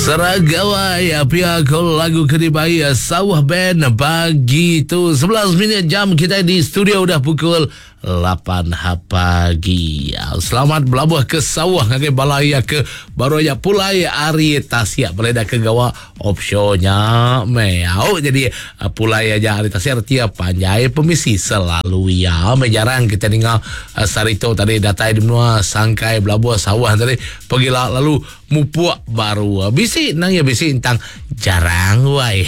Seragawai pia ko lagu ke dibai Sawah Band pagi tu 11 minit jam kita di studio udah pukul 8 pagi. Selamat belabuh ke sawah ngagai bala iya ke baru aja pulai ari tasik boleh dah ke gawa offshore nya meh. Au jadi pulai aja ari tasik reti iya panjai pemisi selalu iya meh jarang kita ninga sehari tu tadi datai di menua sangkai belabuh sawah tadi pegila lalu Mupuk baru. Bisi nang iya bisi entang jarang wai.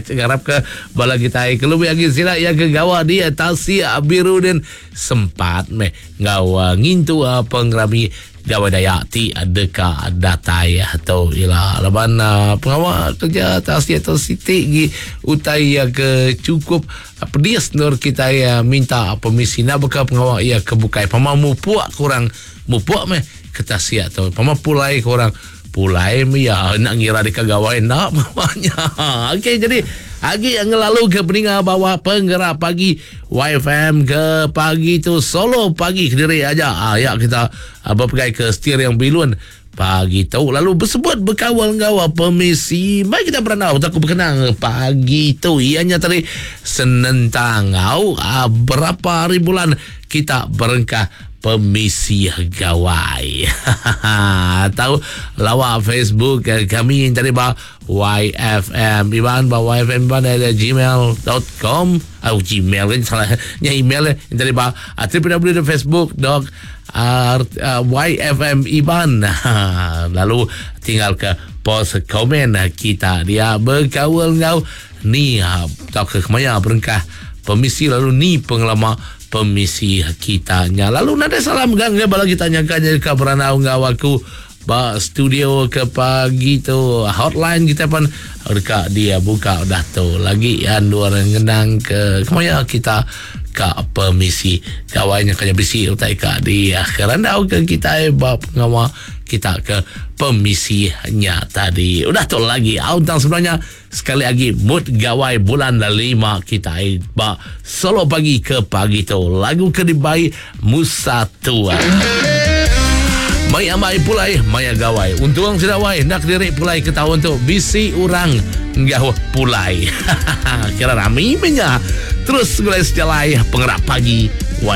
Ngarap ke bala kitai ke lebih agi sida iya ke gawa di Tasik Biru din sempat meh enggau ngintu pengerami Gawai Dayak ti deka datai tu ila. Laban pengawa kerja tasik tu siti gi utai iya ke chukup pedis endur kitai minta pemisi enda baka pengawa iya ke bukai. Pama mupuk ke orang mupuk meh. Ke tasik tu pama pulai ke orang pulai meh iya enda ngira deka gawai enda pama nya. Okey jadi agi ngelalu ke peninga bawa penggerak pagi YFM ke pagi tu solo pagi kediri aja. Ha, ya kita bepegai ke steering bilun pagi tu lalu bersebut berkawal enggau pemisi. Mari kita berandau aku berkenang pagi tu ianya tadi senentang au berapa hari bulan kita berengkah Pemisi Gawai. Tau lawa Facebook kami yang tadi ba YFM Iban ba YFM Iban at gmail.com oh Gmail kan salah nya email yang tadi ba www.facebook dot YFM Iban lalu tinggal ke post komen kita dia berkaul enggau ni tauka kemaya berengkah pemisi lalu ni pengelama Pemisi kita nya. Lalu nadai salah mega ngagai bala kita nyangka nya deka berandau enggau aku ba studio ke pagi tu. Hotline kita pun deka dibuka udah tu. Lagi endur ngenang ke kemaya kita ka pemisi gawai nya kanya bisi utai ka di kerandau ke kitai ba pengawa kita ke pemisi nya tadi. Udah tu lagi au tang sebenarnya Sekali agi mood gawai bulan lima kitai ba solo pagi ke pagi tu. Lagu ke dibai Musa Tua. Mai amai pulai maya gawai. Untung sida wai enda kediri pulai ke taun tu bisi orang enggau pulai. Kira rami meh nya. Terus segulai sejalai pengerak pagi.